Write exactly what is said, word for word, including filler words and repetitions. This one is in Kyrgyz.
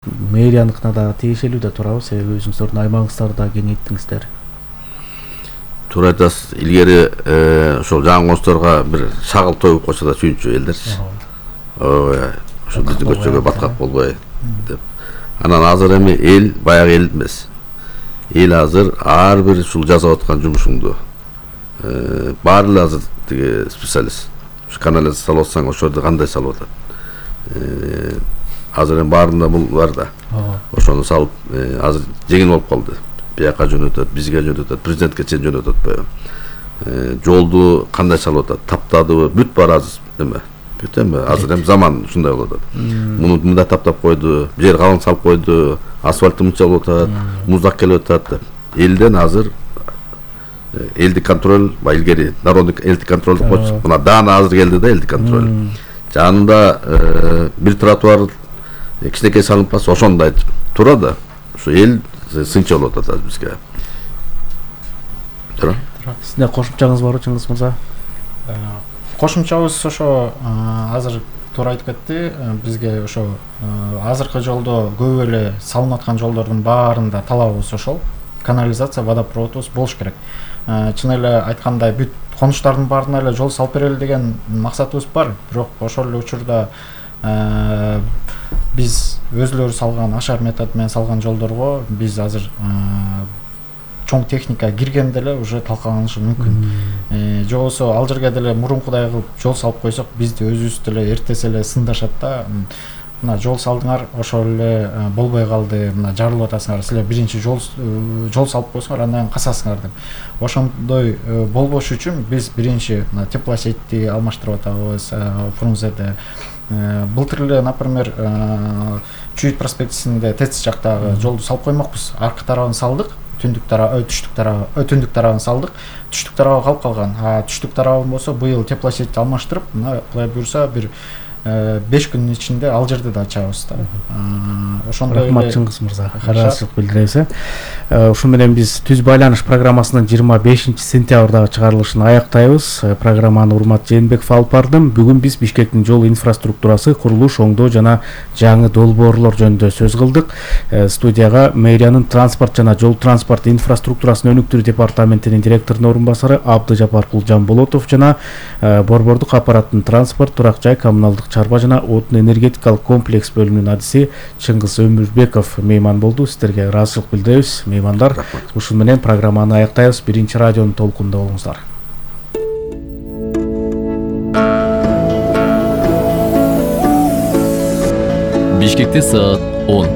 Мэрияныкына да тиешелүү да турабы, себеби өзүңүздөрдүн аймагыңыздарды да кеңейттиңиздер. Туура айтасыз. Илгери ошол жаңы костторго бир шагыл тоюп койсо да сүйүнчү элдерчи. Ооба. Ошо биздин көчөгө баткак болбой деп. Анан азыр эми эл баягы эл эмес. Эл азыр ар бир ушул жасап аткан жумушуңду баары эле азыр тиги специалист. Ушу канализация салып атсаң ошорду кандай салып атат. Азыр эми баарында бул бар да. Ошону салып азыр жеңил болуп калды. Бияка жөнөтөт, бизге жөнөтөт, президентке чейин жөнөтөт атпайбы. Жолду кандай салып атат, таптадыбы, бүт баары азыр эме. Бүт эми азыр эми заман ушундай болуп атат. Муну мындай таптап койду, бул жер калың салып койду, асфальтты мынча болуп атат, муздак келип атат деп. Элден азыр элдик контроль, ба илгери народдук элдик контроль деп койчу. Мына даана азыр келди да элдик контроль. Жанында бир тротуар кичинекей салынып калса ошондой тура да. Ушу эл сынча болуп атат азыр бизге. Туура. Сизде кошумчаңыз барбы, Чыңгыз мырза? Кошумчабыз ошо азыр туура айтып кетти. Бизге ошо азыркы жолдо көп эле салынып аткан жолдордун баарында талабыбыз ошол. Канализация, водопроводубуз болуш керек. Чын эле айткандай бүт конуштардын баарына эле жол салып берели деген максатыбыз бар. Бирок ошол эле учурда биз өзүлөрү салган ашар метод менен салган жолдорго биз азыр чоң техника киргенде эле уже талкаланышы мүмкүн. Же болбосо ал жерге деле мурункудай кылып жол салып койсок, бизди өзүбүз деле эртесе эле сындашат да. Мына жол салдыңар, ошол эле болбой калды, мына жарылып атасыңар, силер биринчи жол жол салып койсоңор, андан кийин касасыңар деп. Ошондой болбош үчүн биз биринчи мына теплосетьти алмаштырып атабыз Фрунзеде. Былтыр эле, например, Чүйүт проспектисинде ТЭЦ жактагы жолду салып коймокпуз. Аркы тарабын салдык, түндүк тарабы, түштүк тарабы, түндүк тарабын салдык. Түштүк тарабы калып калган. А түштүк тарабын болсо быйыл теплосеть алмаштырып, мына кулай буюрса бир беш күндүн ичинде ал жерде да ачабыз да. Ошондой эле. Рахмат Чыңгыз мырза. Ыраазычылык билдиребиз. Ушу менен биз Түз байланыш программасынын жыйырма бешинчи сентябрдагы чыгарылышын аяктайбыз. Программаны Урмат Жээнбеков алып бардым. Бүгүн биз Бишкектин жол инфраструктурасы, курулуш, оңдоо жана жаңы долбоорлор жөнүндө сөз кылдык. Студияга мэриянын транспорт жана жол транспорт инфраструктурасын өнүктүрүү департаментинин директорунун орун басары Абдыжапаркул Жамболотов жана Борбордук аппараттын транспорт, турак жай, коммуналдык чарба жана отун энергетикалык комплекс бөлүмүнүн адиси Чыңгыз Өмүрбеков мейман болду. Сиздерге ыраазычылык билдиребиз, меймандар. Ушун менен программаны аяктайбыз. Биринчи радионун толкунунда болуңуздар. Бишкекте саат он.